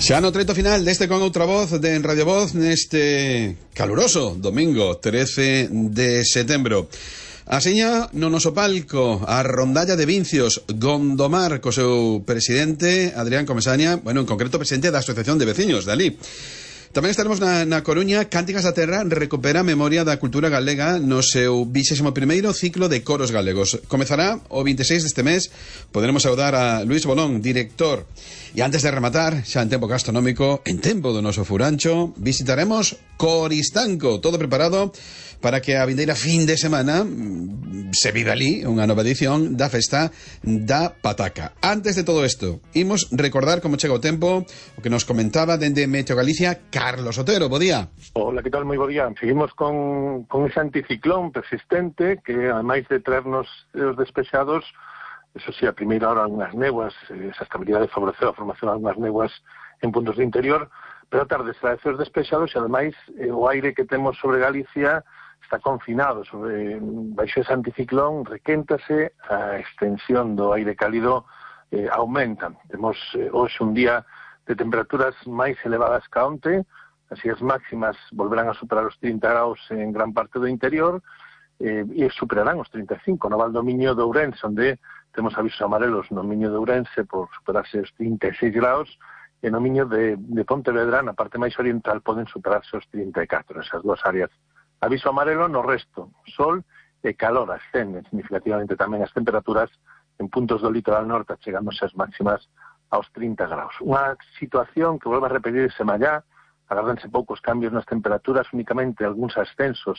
Xa no treito final deste Con Outra Voz de Radio Voz neste caluroso domingo 13 de setembro. Aseña no noso palco a rondalla de Vincios Gondomar co seu presidente Adrián Comesaña, bueno, en concreto presidente da Asociación de Veciños de alí. Tamén estaremos na Coruña. Cánticas da Terra recupera a memoria da cultura galega no seu 21º ciclo de coros galegos. Comezará o 26 deste mes. Poderemos saudar a Luis Bolón, director. E antes de rematar, xa en tempo gastronómico, en tempo do noso furancho, visitaremos Coristanco, todo preparado para que a vindeira fin de semana se vive ali unha nova edición da festa da pataca. Antes de todo isto, imos recordar como chega o tempo, o que nos comentaba dende Meteo Galicia Carlos Otero. Bo día. Hola, que tal? Moi bo día. Seguimos con ese anticiclón persistente que, ademais de traernos os despexados, eso sí, a primeira hora algunhas néguas, esa estabilidade favoreceu a formación de algunhas néguas en puntos de interior, pero a tarde será esos despexados e, ademais, o aire que temos sobre Galicia está confinado baixo ese anticiclón, requéntase, a extensión do aire cálido aumenta. Temos hoxe un día de temperaturas máis elevadas que onte, así as máximas volverán a superar os 30 graus en gran parte do interior e superarán os 35 no Val do Miño de Ourense, onde temos avisos amarelos no Miño de Ourense por superarse os 36 graus e no Miño de Pontevedra, na parte máis oriental, poden superarse os 34, esas dúas áreas. Aviso amarelo no resto, sol e calor, ascenden significativamente tamén as temperaturas en puntos do litoral norte, chegándose as máximas aos 30 graus. Unha situación que volve a repetirse mallá, agardanse poucos cambios nas temperaturas, únicamente algúns ascensos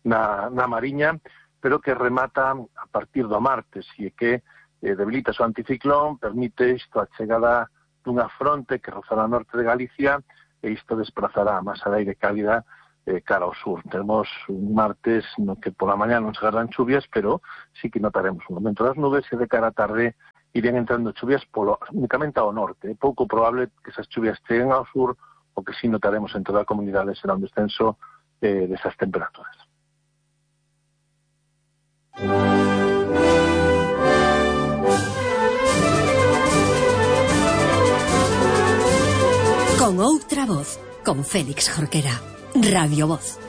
na Mariña, pero que remata a partir do martes e que debilita o anticiclón, permite isto a chegada dunha fronte que rozará ao norte de Galicia e isto desplazará a masa de aire cálida cara ao sur. Temos un martes no que pola mañá non se agardan chuvias, pero sí que notaremos un aumento das nubes e de cara á tarde irían entrando chuvias únicamente ao norte. É pouco probable que esas chuvias cheguen ao sur, o que sí notaremos en toda a comunidade será un descenso desas temperaturas. Con Outra Voz, con Félix Jorquera. Radio Voz.